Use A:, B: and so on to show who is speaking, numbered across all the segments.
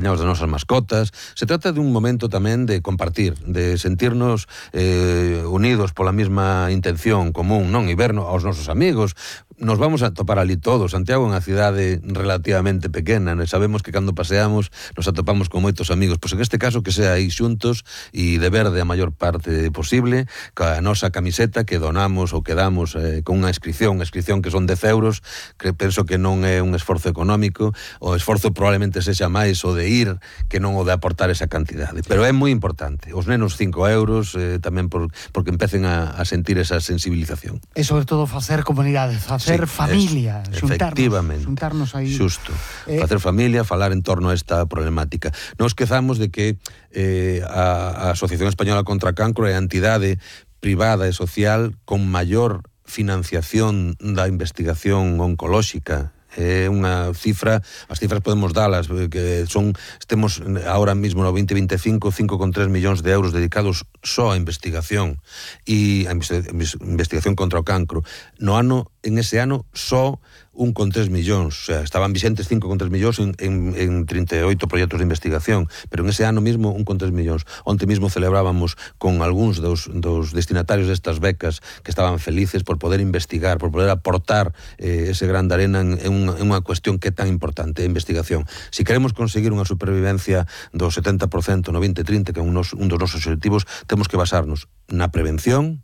A: das nosas mascotas. Se trata de un momento tamén de compartir, de sentirnos unidos pola mesma intención común, non? E ver aos nosos amigos. Nos vamos a topar ali todos. Santiago é unha cidade relativamente pequena, né? Sabemos que cando paseamos nos atopamos con moitos amigos. Pois en este caso que sea aí xuntos e de verde a maior parte posible, ca nosa camiseta que donamos ou que damos con unha inscripción que son 10 euros, que penso que non é un esforzo económico, o esforzo probablemente sexa máis o de ir que non o de aportar esa cantidade. Pero é moi importante. Os nenos 5 euros tamén porque empecen a sentir esa sensibilización.
B: E sobre todo facer comunidade, facer familia, xuntarnos aí.
A: Xusto. Facer familia, falar en torno a esta problemática. Non esquezamos de que a Asociación Española contra Cancro é a entidade privada e social con maior financiación da investigación oncolóxica. É unha cifra, as cifras podemos dalas, que son, temos ahora mismo no 2025 5,3 millóns de euros dedicados só a investigación e a investigación contra o cancro. En ese ano só 1,3 millóns, o sea, estaban vixentes 5,3 millóns en 38 proxectos de investigación, pero en ese ano mismo 1,3 millóns. Onte mismo celebrábamos con algúns dos destinatarios destas becas que estaban felices por poder investigar, por poder aportar ese gran de arena en unha cuestión que é tan importante, a investigación. Si queremos conseguir unha supervivencia do 70% no 2030, que é un dos nosos objetivos, temos que basarnos na prevención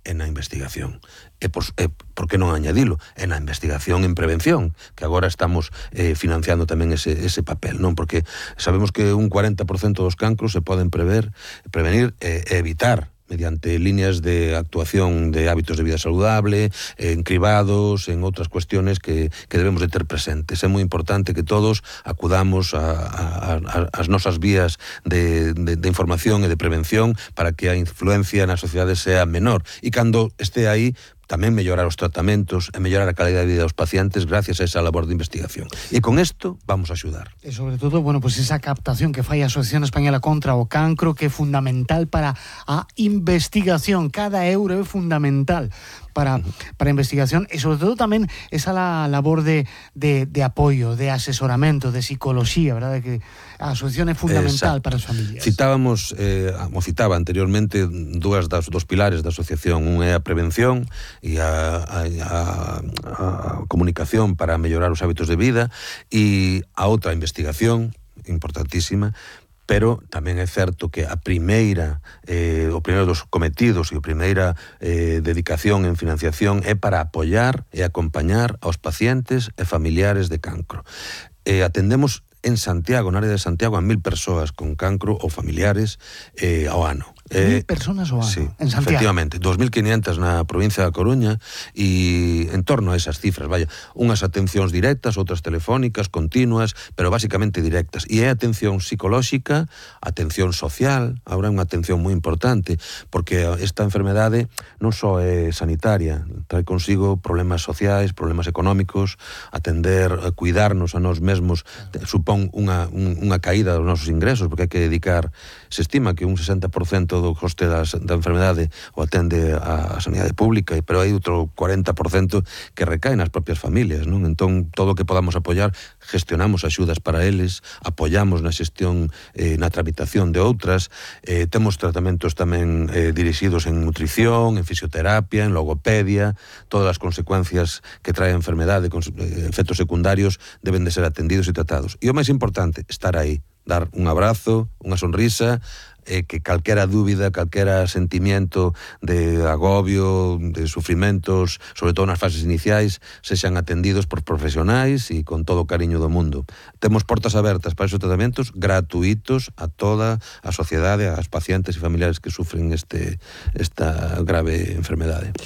A: e na investigación. E por que non añadilo? E na investigación en prevención, que agora estamos financiando tamén ese papel, non? Porque sabemos que un 40% dos cancros se poden prevenir e evitar mediante líneas de actuación de hábitos de vida saludable, en cribados, en outras cuestiones que debemos de ter presentes. É moi importante que todos acudamos ás nosas vías de información e de prevención para que a influencia na sociedade sea menor. E cando este aí, tamén mellorar os tratamentos e mellorar a calidad de vida dos pacientes gracias a esa labor de investigación. E con isto vamos a axudar.
B: E sobre todo, bueno, pues esa captación que fai a Asociación Española contra o Cancro, que é fundamental para a investigación. Cada euro é fundamental para a investigación e sobre todo tamén esa labor de apoio, de asesoramento, de psicología, verdade? Que a asociación é fundamental para as familias.
A: Citaba anteriormente dos pilares da asociación. Un é a prevención e a comunicación para mellorar os hábitos de vida, e a outra, a investigación, importantísima. Pero tamén é certo que o primeiro dos cometidos e a primeira dedicación en financiación é para apoiar e acompañar aos pacientes e familiares de cancro. Atendemos en Santiago, na área de Santiago, a 1.000 persoas con cancro ou familiares ao ano.
B: 1.000 personas ao ano,
A: sí,
B: en Santiago.
A: Efectivamente, 2.500 na provincia da Coruña e en torno a esas cifras, unhas atencións directas, outras telefónicas, continuas, pero basicamente directas. E é atención psicolóxica, atención social, agora é unha atención moi importante, porque esta enfermedade non só é sanitaria, trae consigo problemas sociais, problemas económicos, atender, cuidarnos a nós mesmos, supón unha caída dos nosos ingresos, porque hai que dedicar, se estima que un 60% do coste da enfermedade o atende a sanidade pública, pero hai outro 40% que recae nas propias familias, non? Entón, todo o que podamos apoiar, gestionamos axudas para eles, apoiamos na xestión, na tramitación de outras, temos tratamentos tamén dirixidos en nutrición, en fisioterapia, en logopedia, todas as consecuencias que trae a enfermedade, efectos secundarios, deben de ser atendidos e tratados. E o máis importante, estar aí, dar un abrazo, unha sonrisa, que calquera dúbida, calquera sentimiento de agobio, de sufrimentos, sobre todo nas fases iniciais, sexan atendidos por profesionais e con todo o cariño do mundo. Temos portas abertas para esos tratamentos gratuitos a toda a sociedade, aos pacientes e familiares que sufren esta grave enfermedade.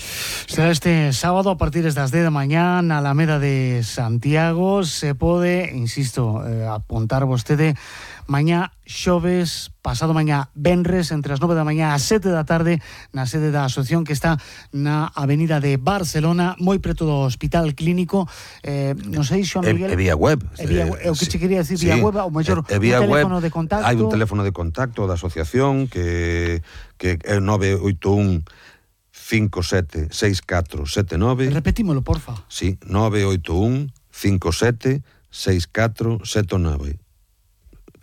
B: Será este sábado a partir das 10 da mañá na Alameda de Santiago. Se pode, insisto, apuntar vostede mañá xoves, pasado mañá venres, entre as 9 da mañá a 7 da tarde, na sede da asociación que está na avenida de Barcelona, moi preto do Hospital Clínico. Non sei, Xoan Miguel...
A: É vía web.
B: É o que che quería decir, vía web, ou mellor, un teléfono de contacto.
A: Hai un teléfono de contacto da asociación que é 981 57 6479.
B: Repetímolo, porfa.
A: Sí, 981 57 6479.